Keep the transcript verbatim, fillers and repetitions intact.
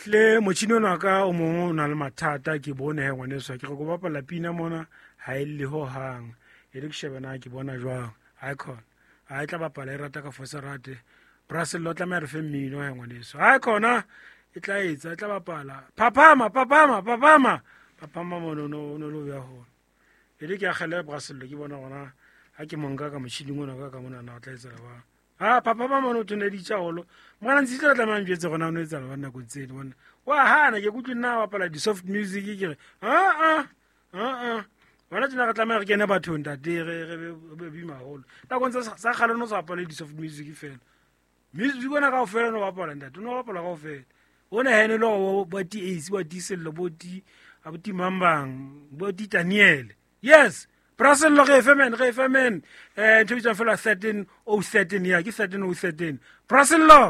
Hle motšhini ona ka o mongwe o na le mathata ke bone he ngwaneso ke re ko bapala pina mona ha e lle hohang e re ke shebe na ke bona jwang ha e khona ha e tla bapala e rata ka fosa rate Brasello tlameha re fe mmino he ngwaneso ha e khona e tla etsa e tla bapala phaphama phaphama phaphama phaphama mono no no lo ya hona e re ke akgele Brasello ke bona gona ha ke monka ka motšhining ona ka ka mona na o tla etsa ba ah papa ba mono thoneditša golo mwana ntse tla tlameha njwetse gona o no etsa ba nako tseno bona wa hana ke kutlwe nna bapala di-soft music ke re aa aa bona tsena re tlameha re kene bathong tate re re be bima haholo nakong tsa sa kgale no sa bapale di-soft music fela music ona kaofela no bapala ntate o no bapala kaofela o ne hene le gore ba ti ace ba ti sello bo ti a bo ti mambang bo ti Daniel yes Brasello re fe men re fe men eh ntho bitsang fela thirteen oh thirteen ya ke thirteen oh thirteen Brasello.